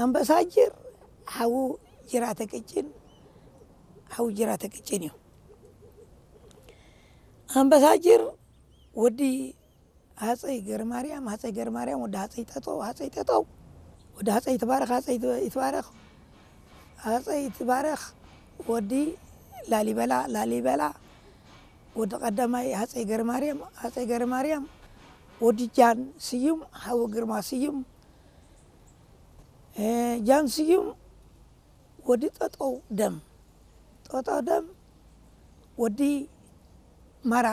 ኣምባሳጅር ሓዉ ጅራተ ቅጭን፣ ሓዉ ጅራተ ቅጭን እዩ። ኣምባሳጅር ወዲ ሃፀይ ገርማርያም፣ ሃፀይ ገርማርያም ወዲ ሃፀይ ጠጠው፣ ሃፀይ ጠጠው ወዲ ሃፀይ ይትባረክ፣ ሃፀይ ይትባረክ፣ ሃፀይ ይትባረክ ወዲ ላሊበላ፣ ላሊበላ ወዲ ቀዳማይ ሃፀይ ገርማርያም፣ ሃፀይ ገርማርያም ወዲ ጃን ስዩም፣ ሓዉ ግርማ ስዩም፣ እ፣ ጃን ስዩም ወዲ ጠጠው ደም፣ ጠጠው ደም ወዲ ማራ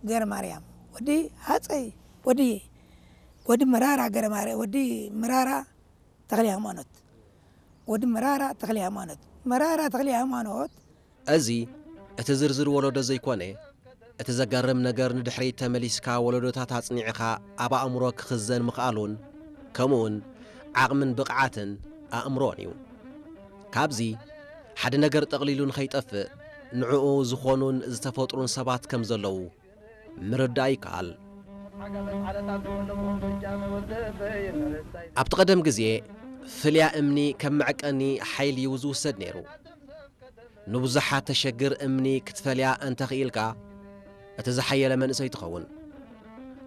ገርማርያም፣ ወዲ ሃፀይ፣ ወዲ፣ ወዲ መራራ ገርማርያም፣ ወዲ መራራ ተኽለ ሃይማኖት፣ ወዲ መራራ ተኽለ ሃይማኖት፣ መራራ ተኽለ ሃይማኖት። እዚ እቲ ዝርዝር ወለዶ ዘይኮነ፣ እቲ ዘገርም ነገር ንድሕሪት ተመሊስካ ወለዶታት ኣጽኒዕኻ ኣብ ኣእምሮ ክኽዘን ምኽኣሉን፣ ከምኡውን ዓቕምን ብቕዓትን ኣእምሮን እዩ። ካብዚ ሓደ ነገር ጠቕሊሉ ንኸይጠፍእ ንዕኡ ዝኾኑን ዝተፈጥሩን ሰባት ከም ዘለዉ ምርዳእ ይከኣል። ኣብቲ ቀደም ግዜ ፍልያ እምኒ ከም መዕቀኒ ሓይሊ እዩ ዝውሰድ ነይሩ። ንብዙሓት ተሸግር እምኒ ክትፈልያ እንተኽኢልካ፣ እቲ ዝሓየለ መንእሰይ ትኸውን።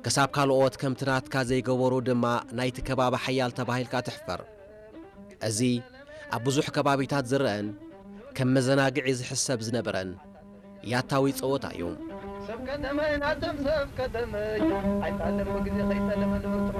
ክሳብ ካልኦት ከምቲ ናትካ ዘይገበሩ ድማ ናይቲ ከባቢ ሓያል ተባሂልካ ትሕፈር። እዚ ኣብ ብዙሕ ከባቢታት ዝረአን ከም መዘናግዒ ዝሕሰብ ዝነበረን ያታዊ ጸወታ እዩ። ሰብ ከተመይ ናተም ሰብ ከተመይ ኣይጣለም ብግዜ ከይጠለመ ንብርቱ